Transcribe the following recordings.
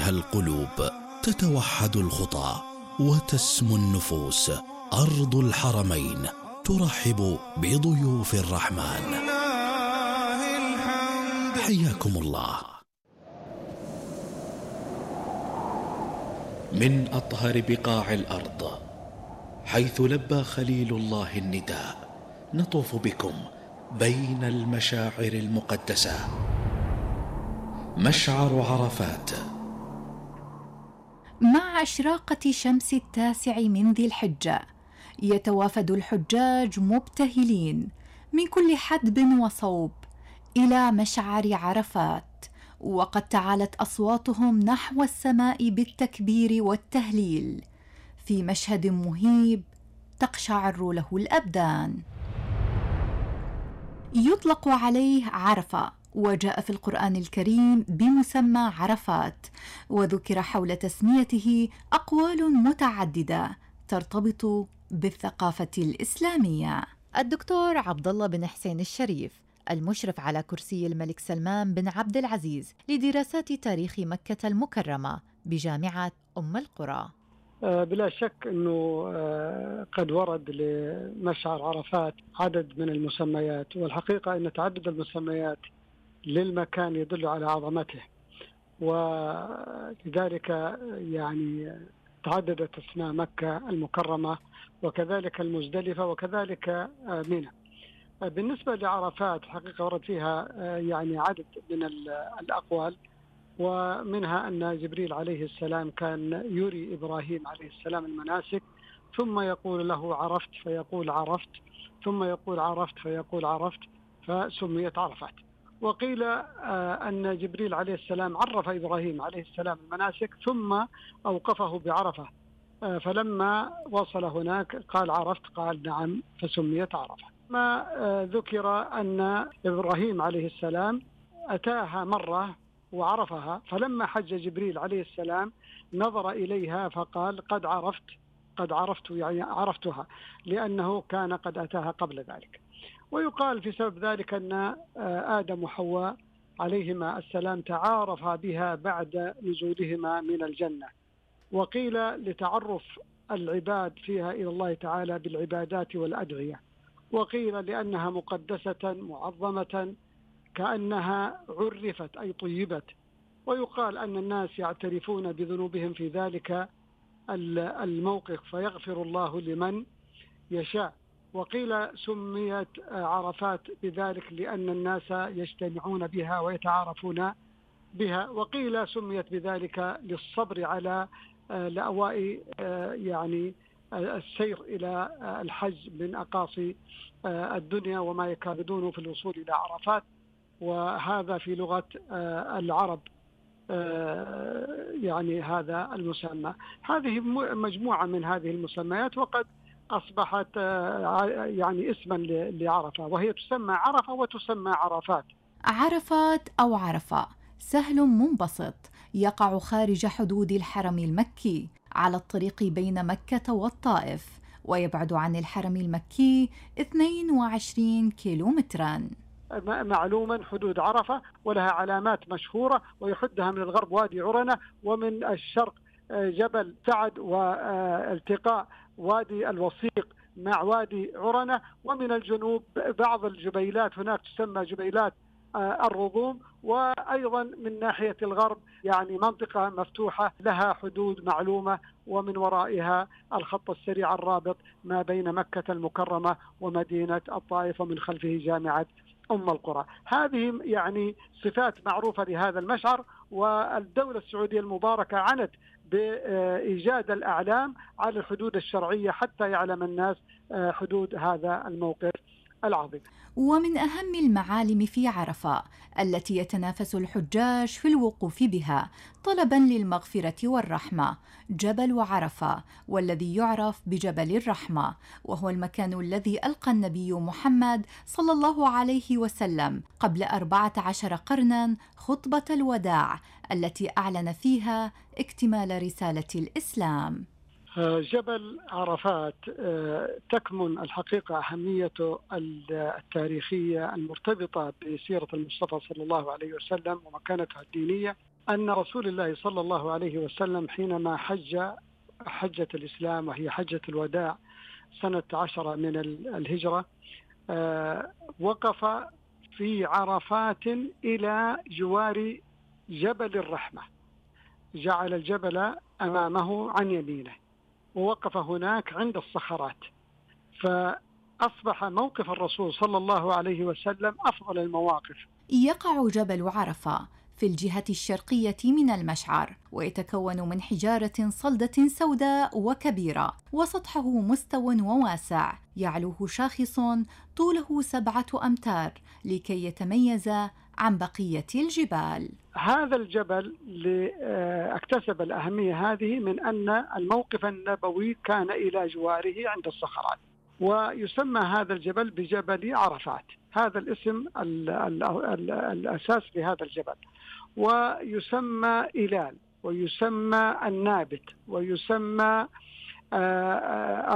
فيها القلوب، تتوحد الخطى وتسمو النفوس. أرض الحرمين ترحب بضيوف الرحمن. حياكم الله. من أطهر بقاع الأرض، حيث لبى خليل الله النداء، نطوف بكم بين المشاعر المقدسة. مشعر عرفات. مع إشراقة شمس 9 من ذي الحجة، يتوافد الحجاج مبتهلين من كل حدب وصوب إلى مشعر عرفات، وقد تعالت أصواتهم نحو السماء بالتكبير والتهليل في مشهد مهيب تقشعر له الأبدان. يطلق عليه عرفة، وجاء في القرآن الكريم بمسمى عرفات، وذكر حول تسميته أقوال متعددة ترتبط بالثقافة الإسلامية. الدكتور عبد الله بن حسين الشريف، المشرف على كرسي الملك سلمان بن عبد العزيز لدراسات تاريخ مكة المكرمة بجامعة أم القرى. بلا شك أنه قد ورد لمشعر عرفات عدد من المسميات، والحقيقة أن تعدد المسميات للمكان يدل على عظمته، ولذلك يعني تعددت اسماء مكة المكرمة وكذلك المزدلفة وكذلك منى. بالنسبة لعرفات حقيقة ورد فيها يعني عدد من الأقوال، ومنها أن جبريل عليه السلام كان يري إبراهيم عليه السلام المناسك، ثم يقول له عرفت فيقول عرفت، ثم يقول عرفت فيقول عرفت، فسميت عرفات. وقيل أن جبريل عليه السلام عرف إبراهيم عليه السلام المناسك ثم أوقفه بعرفة، فلما وصل هناك قال عرفت، قال نعم، فسميت عرفة. ما ذكر أن إبراهيم عليه السلام أتاها مرة وعرفها، فلما حج جبريل عليه السلام نظر إليها فقال قد عرفت يعني عرفتها، لأنه كان قد أتاها قبل ذلك. ويقال في سبب ذلك أن آدم وحواء عليهما السلام تعارفا بها بعد نزولهما من الجنة، وقيل لتعرف العباد فيها إلى الله تعالى بالعبادات والأدعية، وقيل لأنها مقدسة معظمة كأنها عرفت أي طيبت. ويقال أن الناس يعترفون بذنوبهم في ذلك الموقف فيغفر الله لمن يشاء. وقيل سميت عرفات بذلك لأن الناس يجتمعون بها ويتعارفون بها، وقيل سميت بذلك للصبر على لأواء يعني السير إلى الحج من أقاصي الدنيا وما يكابدون في الوصول إلى عرفات، وهذا في لغة العرب يعني هذا المسمى. هذه مجموعة من هذه المسميات، وقد أصبحت يعني اسما لعرفة، وهي تسمى عرفة وتسمى عرفات. عرفات أو عرفة سهل منبسط يقع خارج حدود الحرم المكي على الطريق بين مكة والطائف، ويبعد عن الحرم المكي 22 كيلومترا. معلوما حدود عرفة ولها علامات مشهورة، ويحدها من الغرب وادي عرنة، ومن الشرق جبل سعد والتقاء وادي الوصيق مع وادي عرنة، ومن الجنوب بعض الجبيلات هناك تسمى جبيلات الرضوم، وأيضا من ناحية الغرب يعني منطقة مفتوحة لها حدود معلومة، ومن ورائها الخط السريع الرابط ما بين مكة المكرمة ومدينة الطائف، ومن خلفه جامعة أم القرى. هذه يعني صفات معروفة لهذا المشعر، والدولة السعودية المباركة عنت بإيجاد الأعلام على الحدود الشرعية حتى يعلم الناس حدود هذا الموقف العظيم. ومن أهم المعالم في عرفة التي يتنافس الحجاج في الوقوف بها طلبا للمغفرة والرحمة جبل عرفة، والذي يعرف بجبل الرحمة، وهو المكان الذي ألقى النبي محمد صلى الله عليه وسلم قبل 14 قرنا خطبة الوداع التي أعلن فيها اكتمال رسالة الإسلام. جبل عرفات تكمن الحقيقة أهميته التاريخية المرتبطة بسيرة المصطفى صلى الله عليه وسلم ومكانتها الدينية أن رسول الله صلى الله عليه وسلم حينما حجة الإسلام وهي حجة الوداع سنة 10 من الهجرة، وقف في عرفات إلى جوار جبل الرحمة، جعل الجبل أمامه عن يمينه ووقف هناك عند الصخرات، فأصبح موقف الرسول صلى الله عليه وسلم أفضل المواقف. يقع جبل عرفة في الجهة الشرقية من المشعر، ويتكون من حجارة صلدة سوداء وكبيرة، وسطحه مستو وواسع، يعلوه شاخص طوله 7 أمتار لكي يتميز عن بقية الجبال. هذا الجبل اكتسب الأهمية هذه من أن الموقف النبوي كان إلى جواره عند الصخرات، ويسمى هذا الجبل بجبل عرفات، هذا الاسم الأساس لهذا الجبل، ويسمى إلال، ويسمى النابت، ويسمى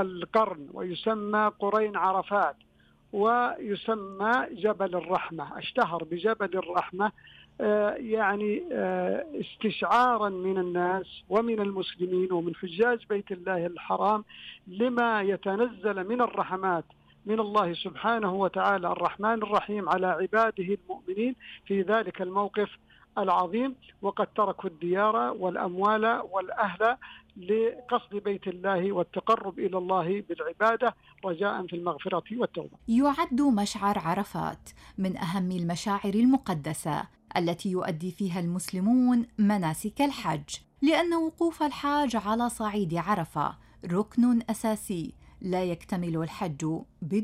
القرن، ويسمى قرين عرفات، ويسمى جبل الرحمة. اشتهر بجبل الرحمة يعني استشعارا من الناس ومن المسلمين ومن حجاج بيت الله الحرام لما يتنزل من الرحمات من الله سبحانه وتعالى الرحمن الرحيم على عباده المؤمنين في ذلك الموقف العظيم، وقد تركوا الديار والأموال والأهل لقصد بيت الله والتقرب إلى الله بالعبادة رجاء في المغفرة والتوبة. يعد مشعر عرفات من أهم المشاعر المقدسة التي يؤدي فيها المسلمون مناسك الحج، لأن وقوف الحاج على صعيد عرفة ركن أساسي لا يكتمل الحج بدونه.